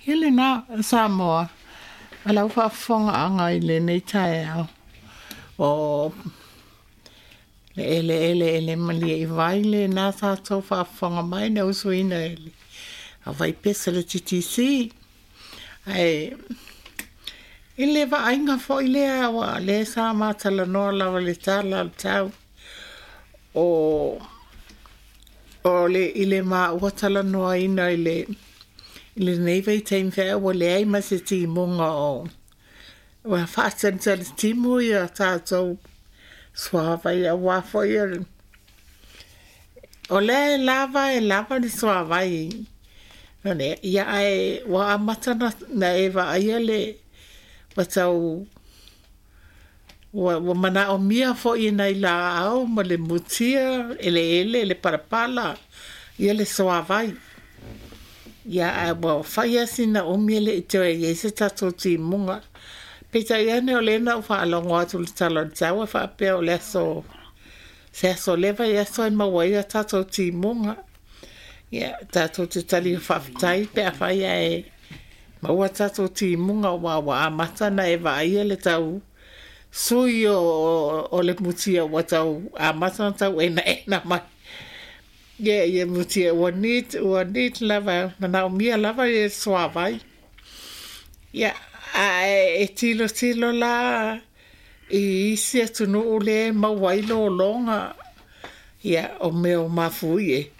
Ia lena Samoa, ma lau faafofogaaga i lenei taeao. O le eleele ele malie i vai lena tatou faafofoga mai na usuina e le auvaipesa le TTC. Ae i le vaaiga foi lea ua lea sa matalanoa lava le tala o le tau o o le i le maua talanoaina i le i lenei vaitaimi feai ua leai ma se timuga o ua faatalitali ia tatou suavai auā foi o lea e lava le suavai ia ae ua amata na e vaaia le ua tau ua manaomia foi e nai laau ma le mutia eleele le palapala ia le suavai. Ia ae ua fai lava sina umi e le i toe i ai se tatou timuga. Peitai ane o lea na ou faalogo atu i le tala o le tau e faapea o le aso se aso leva i aso e maua ai a tatou timuga. Ia tatou te tali faafetai pe afai ae maua tatou timuga ua amata na e vaaia le tau sui o le mutia ua tau amata ona tau enaena mai. Ia ia mutia ua need lava manaomia lava ia suavai. Ia ae e tilotilo la i isi atunuu lea e maua ai lologa ia o mea o mafuie.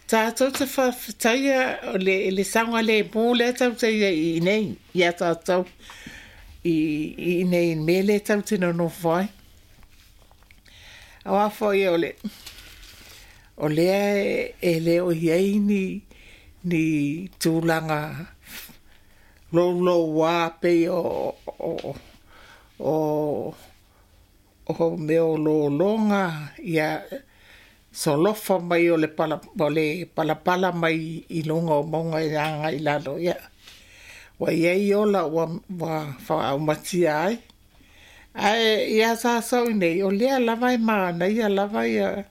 Tatou te faafetaia o le saogalemu lea tatou te i ai i inei ia tatou i inei i le mea lea tatou te nonofo ai. Auā foi o le o lea e le o i ai ni tulaga louloua pei o mea o lologa ia solofa mai o le pala o le palapala mai i luga o mauga e agai i lalo ia ua i ai ola ua faaumatia ai. Ae ia tatou i nei o lea lava e manaia lava ia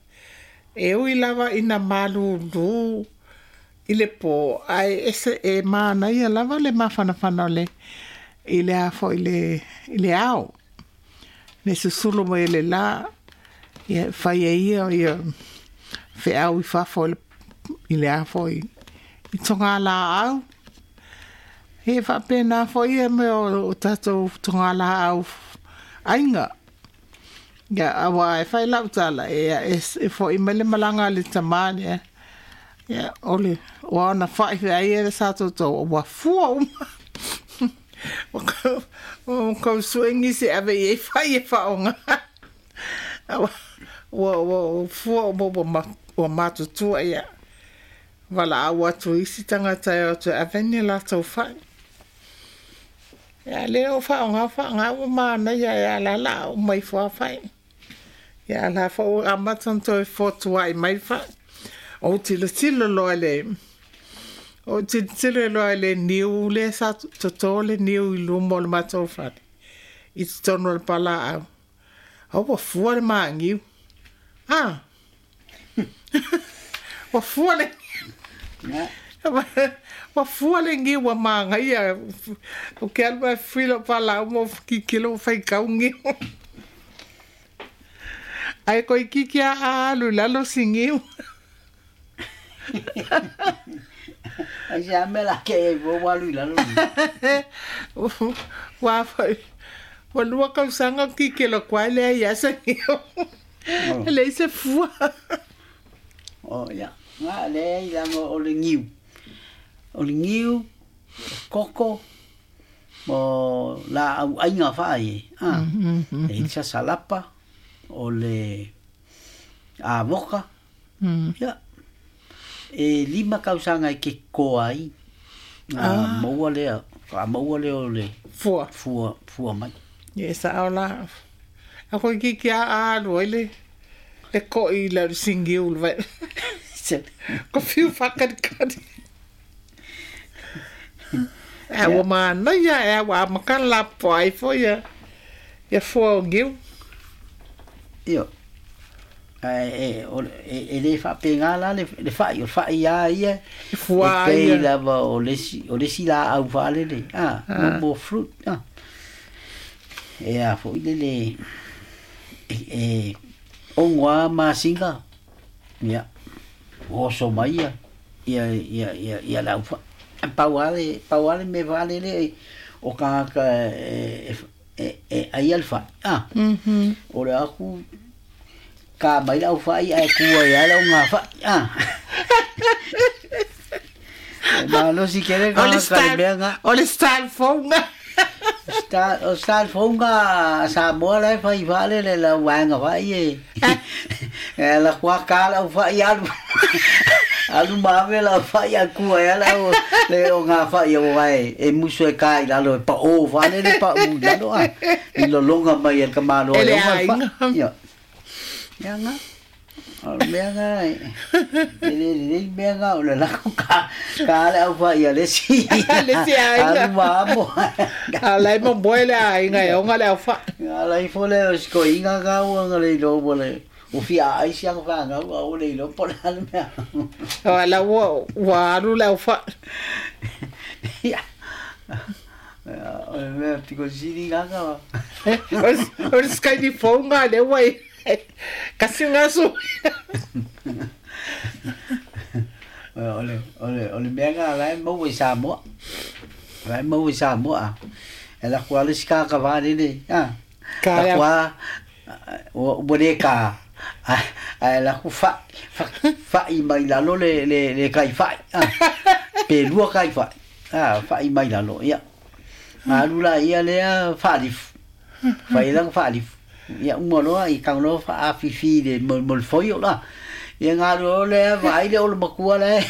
e ui lava ina malūlū i le pō ae ese e manaia lava le mafanafana o le i le a foi le i le ao le susulu mai o le lā ia fai e ia ia feau i fafo i le a foi i togalaau. E faapena foi ia mea o tatou togalaau aiga. Ia auā e fai lau tala e fo'i mai le malaga a le tamā lea. Ia o le o ana fa'i feai e sa toutou ua fua uma. O kou sue nisi e ave i ai fai e faaaogā. Ua fua uma ua matutua ia. Valaau atu i isi tagata e o atu e ave ni latou fa'i. Ia lea o faaaogā faaaogā ua manaia e ala la uma ifo lava fa'i. Ia la foi ua amata ona toe fotuai mai fa'i. Ou tilotilo loa i le ou tilotilo loa i le niu lea sa totō le niu i luma o le matou fale i totonu o le palaau. Au ua fua le magiu. Ah! Ua fua le ua fua le niu ua magaia. Ou te alu ae fui lou palaau ma ou tilotilo ua faitau niu. Ae toeitiiti lava a alu i lalo si niu. Ai se a mea la ke ai ua alu i lalo. Ua foi ua 2 tausaga tilotilo atu ai leai lava se niu. E leai se fua. O ia, nga leai leaga o le niu. O le niu, o koko, mo laau aiga faai a. E i sasalapa, o le avoka. Ia. E 5 tausaga e ke koa ai. A maua lea, a maua lea o le fua. Fua, fua mai. Ia e sao la. A toeitiiti lava a alu ai le ko'i i le sigiu le vai. Ko fiu faakalikali. Ae ua manaia e ua amata ona lapopoa ai foi ia ia fua o niu. Io. Ae e lē faapegā la le fa'i o le fa'i a ia E fuā e pei ia. lava o le isi o le isi laau faalele a mo fruit a e a fo'i le le e ogo a masina ia oso mai ia ia ia ia ia le aufa'i pau a le pau a le mea faalele o tagata e e e aia le fa'i a o le aku ka mai le aufa'i ae tu ai lava le augafa'i a e malosi tele O le tagata i le style mea lena. o le style fou lena. O style fou lena a Samoa la e fai faalele i le au vaega fa'i e e ala atu lava ta le aufa'i alu alu ma ave le aufa'i ae tu ai lava le au le ogafa'i aua e musu e ta i lalo e pa'o faalele pa'u i lalo a i lologa mai e le tamaloa E e le oga le fa'i aiga. ia. Ia na. O le mea na e le lelei mea na o le lako ka ka le aufa'i a le isi Le isi aiga. alu ma amo. A la e momoe le aiga e oga le aufa'i. Ala ifo lea o si toeaina na ua na le iloa ua le ua fia aai si ana fanau a ua le iloa po o le a le mea. O la ua ua alu le aufa'i. Ia. O le mea piko sili na ka. O le skyli fou lena lea ua i ai. Kasi lena sui. O le o le o le mea na la e maua i Samoa. La e maua i Samoa. E alu atu lava le isi tagata faalele a. Ka le Alu atu lava ua le ka ae alu atu fa'i fa'i mai lalo le le le kai fa'i a. Pe lua kai fa'i a fa'i mai lalo ia. Alu laia lea faalifu. Fai lana faalifu. Ia uma loa i tago loa faafifi i le mo le foio la. Ia galu loa lea vaai le o le matua la e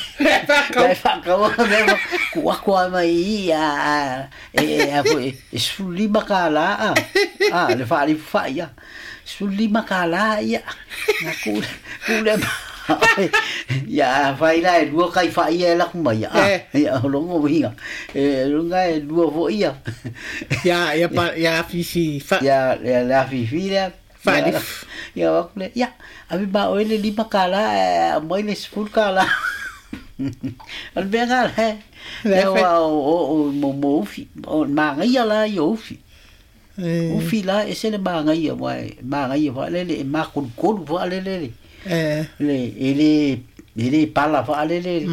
la e faakaua mea tuu atu lava mai i i a e a foi e $15 a a le faalifu fa'i a $15 ia na tuu tuu lea ia afai la e lua kai fa'i ia e alu atu mai a ia o lona uiga e luga e lua foi ia Ia ia pa ia afifi fa'i. ia ia le afifi lea Faalifu. ia o atu lea ia ave ma oe le $5 ae aumai le $10. O le mea lena la Le lea ua o o mo mo ufi o le magaia la ia o ufi. Ufi la e ese le magaia aua e magaia faalele e makolukolu faalele le le e le e le pala faalele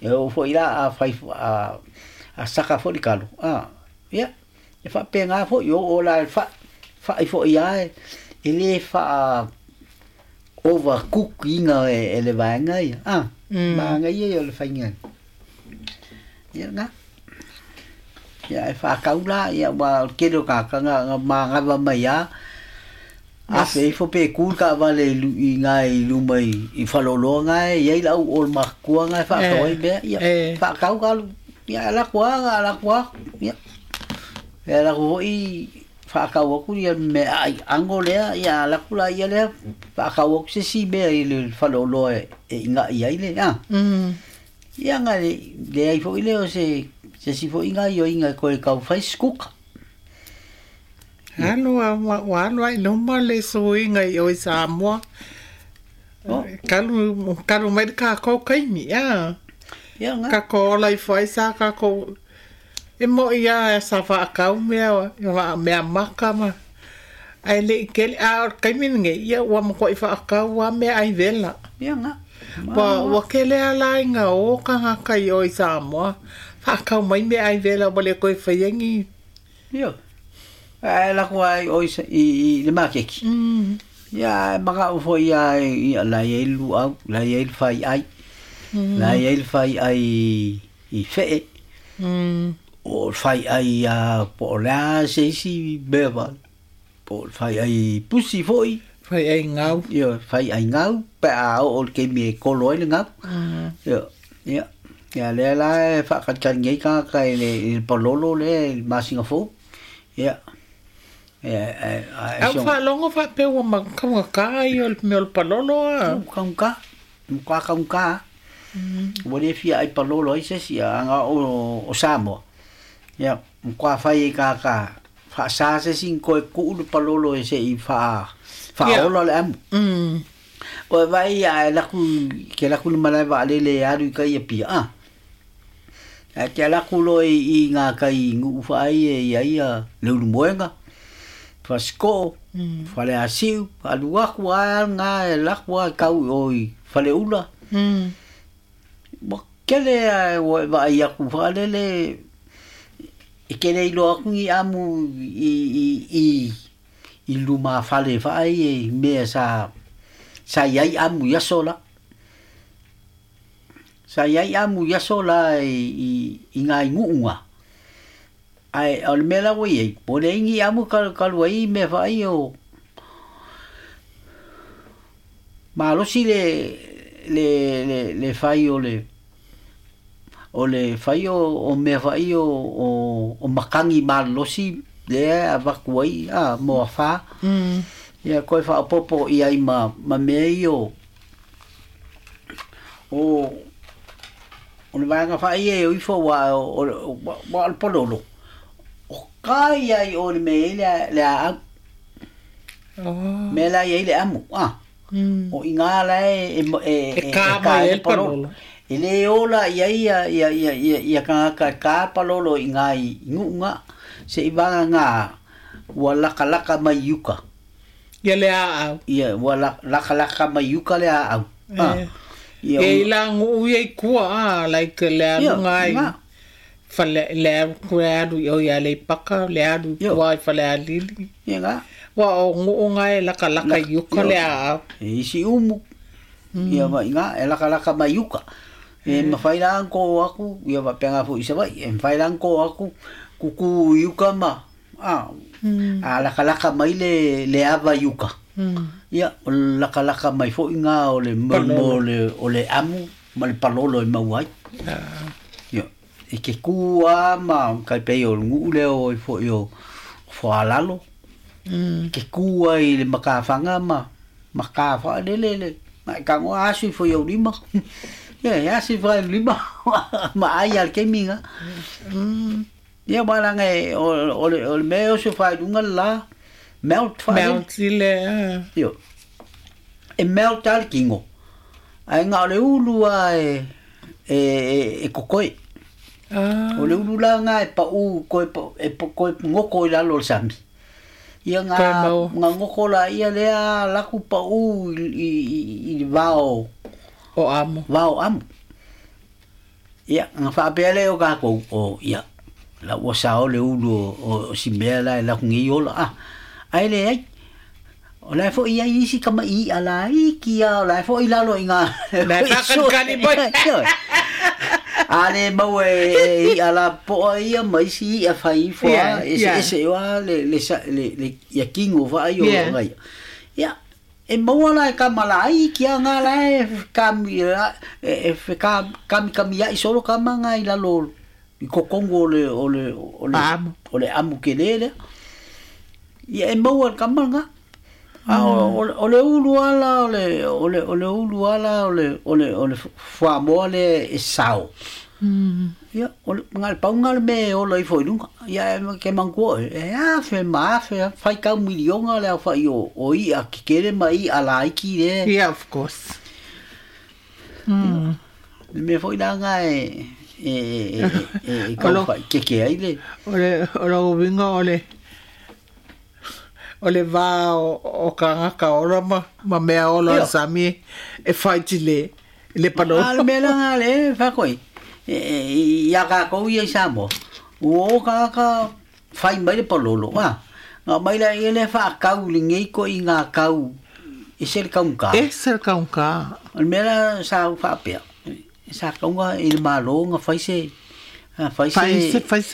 e oo foi la a fai a a saka foi le kalo a ia e faapegā foi o oo la i le fa'i fa'i foi lava e lē faa overcook ina e le vaega ia a magaia ia o le faiga ia lena ia e faatau la ia ua o le tele o tagata na manava mai lava afe ifo pe ku le taavale i ina i luma i faleoloa na e i ai le au o le matutua na e faatau ai mea ia faatau ka alu ia alu atu lava alu atu lava ia e alu atu foi faatau atu ia meaai ago lea ia alu atu laia lea faatau atu se isi mea i le faleoloa e iga'i ai le a ia na leai foi lea o se se isi foi gaoioiga e toe tau fai se kuka. Alu a ua alu ai luma le suiga i o i Samoa. Kalu kalu mai le kākou kaimi a. Ia na. Kākou ola ifo ai sa kākou e mo'i lava sa faakau mea mea maka ma ae le'i kele a o le taimi lenei ia ua matua'i faakau lava meaai vela. Ia na. Ua ua kele lava la ina o tagata i o i Samoa faakau mai meaai vela ua le toe faia ni. Ia. Ae alu atu lava i o i le makeki. Ia ae mana'o foi lava ia la e i ai le luau, la e i ai le fai'ai. La e i ai le fai'ai i fe'e. O le fai'ai a po o le a se isi mea fale. Po o le fai'ai pusi foi. Fai'ai gau. Ia, fai'ai gau pe a oo i le taimi e kolo ai le gau. Ia, ia. Ia lea la e faatalitali nei tagata i le i le palolo lea i le masina fou. Ia. Ia ae Au faalogo faapea ua taugata ia o le mea o le palolo a. Ua taugata, matua taugata. Ua le fia ai palolo ai se isi aga o o Samoa. Ia, matua fai e tagata faasā se isi ona toe tuu le palolo e se'i faa faaola le amu. O vai a laku ke laku le malae vaalele e alu i kai Apia a. Ae ke ala aku loa i ngā kai nguu whaai e ia ia le ulumoenga, Fasiko'o, Faleasiu, alu aku ae al ngā e laku ae kau i o i Faleula. Ua kele ae ua e vaai aku whaalele e kele iloa aku ni amu i luma fale whaai e mea sa iai amu i aso la. Sa iai amu i aso la i ngā ingu'unga. Ae o le mea la ua iai, po o le ai ni amu kalu ai mea whaai o malosi le whai o le o le whai o mea whai o makangi malosi lea avaku ai a moa wha. Ia koe whaopopo i ai ma mea i o o le vaega whai e o ifo wa o le pololo. O kai ai o le mea i le a au. Mea la i le amu. O i ngā la e ka mai e le palolo. E le ola ia ia ia ia ia ia kangaka ka palolo i ngā i ngu'unga. Se i vanga ngā ua laka laka mai uka. Ia le a au. Ia ua laka laka mai uka le a au. Ia i la nguu ia i kua a, like le alu ngai. Fale le alu i o ia le paka, le alu kua i fale alili. Ia ngā. Wa o nguu ngai laka laka i uka le a au. E isi umu. Ia wa inga e laka laka mai uka. E mawhai la anko aku, ia wa penga fu i sawai, e mawhai la anko aku kuku i uka ma. A laka laka mai le ava i uka. Ia, o laka laka mai fo inga o le mo o le amu ma le palolo e mau ai. Ia, e ke kua ma kai pei o nguu leo i fo i o whaalalo. Ke kua i le makawhanga ma makawha le le. Ma ka ngoa asu i fo i au lima. Ia, asu i fo i lima. Ma ai al ke minga. Ia, walanga e o le mea o se whailunga la melt whae. Melt i le. Io. E melt al kingo. Ai ngā o le ulu a e kokoe. O le ulu la ngā e pa u koe, e koe ngoko i lalo le sami. Ia ngā ngoko la ia lea laku pa u i vao. O amu. Vao amu. Ia, ngā whaapea leo kākou o ia. La ua sao le ulu o si mea la e laku ngi ola. Ai le ai. O la fo i ai isi kama i ala i kia o la fo i lalo i ngā. La whakankani mai. A le mau e i ala poa ia mai si i a whai foa. Ese oa le ia kingo wha ai o ngai. Ia, e maua la e kamala ai kia ngā la e kami e kami kami ia i solo kama ngā i lalo i kokongo o le amu ke le. Ia e maua le kama ngā. O le ulu ala, o le ulu ala, o le whamoa le e sao. Ia, o le paunga le me ola i whailunga. Ia, ke mangkua, e afe ma afe, whai kau milionga le au whai o i a kikere ma i ala iki le. Yeah, of course. Le mea whailanga e kau whai keke ai le. O le uwinga o le o le vā o kangaka ola ma mea ola o sami e whaiti le palolo. A le mea langa le whakoi. Ia kākou ia i Samoa. O kangaka whai mai le palolo. Ngā mai la ia le whaakau le ngei ko i ngā kau. E se le kaunga. E se le kaunga. O le mea la sa whaapea. Sa kaunga i le malo ngā whai se. Whai se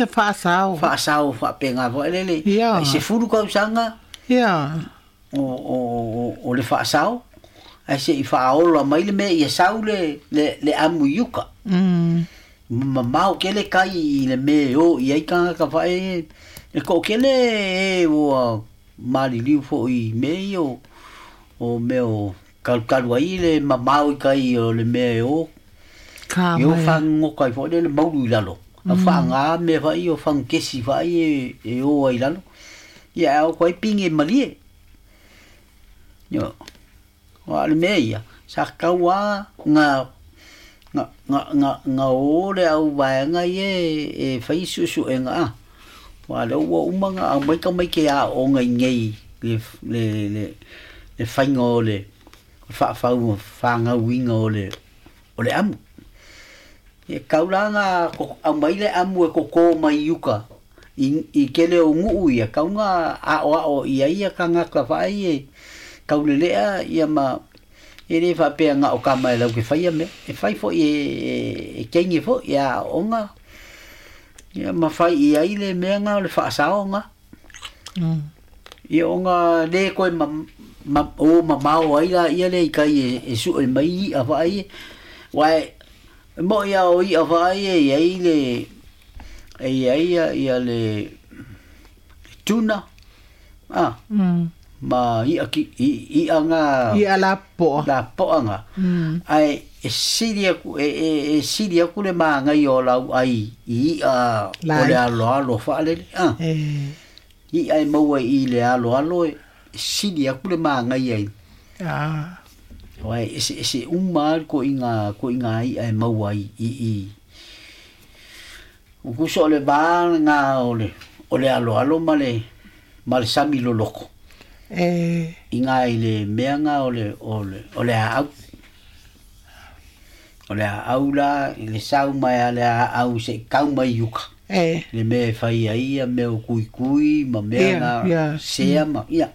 whaasao. Whaasao whaapea ngā whaelele. I se furu kausanga. Ia. O le whaasao. Ai se i whaaola mai le mea ia sau le amu i uka. Mamau ke le kai i le mea o i ai kangaka whae. E ko kele e ua mariliu fo i mea i o mea o kalukalu ai le mamau i kai o le mea o. Ka mai. I o whangokai fo le mauru i lalo. A whaanga mea whai o whangkesi whai e o ai lalo. Ia au koe pinge malie. Ia. O le mea ia, sa kaua nga nga nga nga nga o le au vaega ia e fai suesuega a. Wa le ua uma nga au mai ka mai ke a o ngai nei le le le le fainga o le faafau fagauiga o le amu. E kaulanga ko au mai le amu e koko mai uka i kele o nguu ia kaunga a o a o ia ia kanga ka fai e kaulelea ia ma e le faapea nga o ka mai lau ke faia me e fai fo e kenge fo ia onga ia ma fai ia i le mea nga o le faasaoga ia onga le koe ma ma o mamao ai la ia le i kai e sue mai a fai wai mo ia o i a fai e ia i le e ia ia ia le tuna a ma i aki i anga i ala po la po anga ai e sili aku e sili aku le maangai o lau ai i a o le alo alo faalele a i ai maua i le alo alo e sili aku le maangai ai a wai ese uma ko inga i ai maua i o kuso le ba nga o le alo alo ma le sami loloko inga i le mea nga o le au o le au la i le sau mai a le au se kau mai uka le mea e fai ai ia mea o kuikui ma mea nga sea ma ia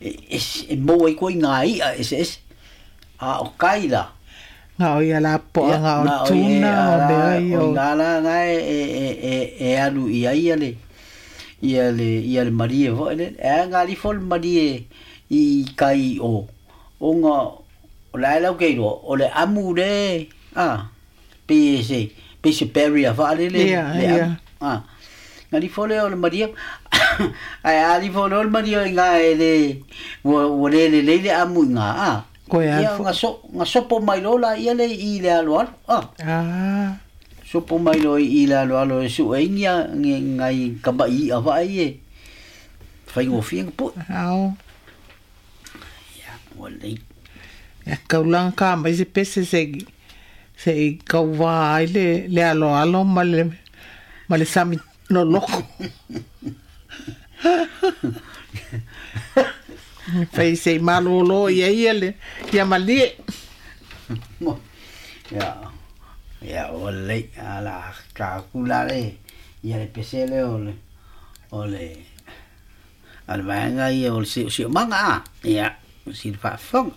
e maua i koe ngā ia ese ese a o kai la ngā o ia la poa ngā o tuna o mea i o ngā la ngā e alu i ai ia le ia le marie foi le e ngā li fo le marie i kai o o ngā o la lau kei roa o le amu le a pe se barrier whaale le le amu a ngā li fo le o le marie ai a li fo le o le marie i ngā e le ua le le le le amu i ngā a koe ia ngā sopo mai lola ia le i le alo alo a sopo mai lo i le alo alo e su e ingia ngai kamba i a vai e whaingofia ngā pui ao ia ua lei ia kaulanga ka mai se pese se i kauwā ai le alo alo ma le sami loloko fai se i malolo ia ia le ia malie ia ia o le ala ka kula le ia le pese le o le al vaega ia o le sio manga ia si le faafofoga.